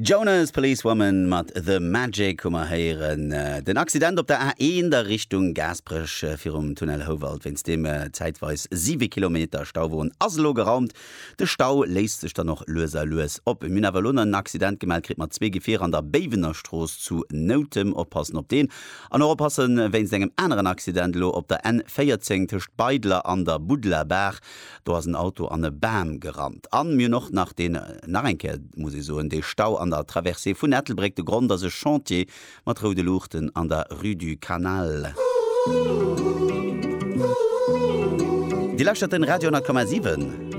Jonas Policewoman mat The Magic hu mer héieren. Den Accident op der A1 a Richtung Gaasperech virum Tunnel Houwald, wéinst deem zäitweis 7 Kilometer Stau woren, ass elo geraumt. De Stau léist sech dann och lues a lues op. Mir hunn awer elo nach en Accident gemellt kritt mat zwee Gefierer an der Béiwener Strooss zu Noutem. Oppassen op deen. An och oppassen wéinst engem aneren Accident elo op der N14 tëscht Beidler an der Buddlerbaach. Do ass en Auto an e Bam gerannt. An mir hunn och nach deen, nach eng Kéier muss ee soen, dee Stau an der Traversée vun Ettelbréck. De Grond ass e Chantier mat roude Luuchten an der Rue du Canal. Dir lauschtert den Radio 10,7.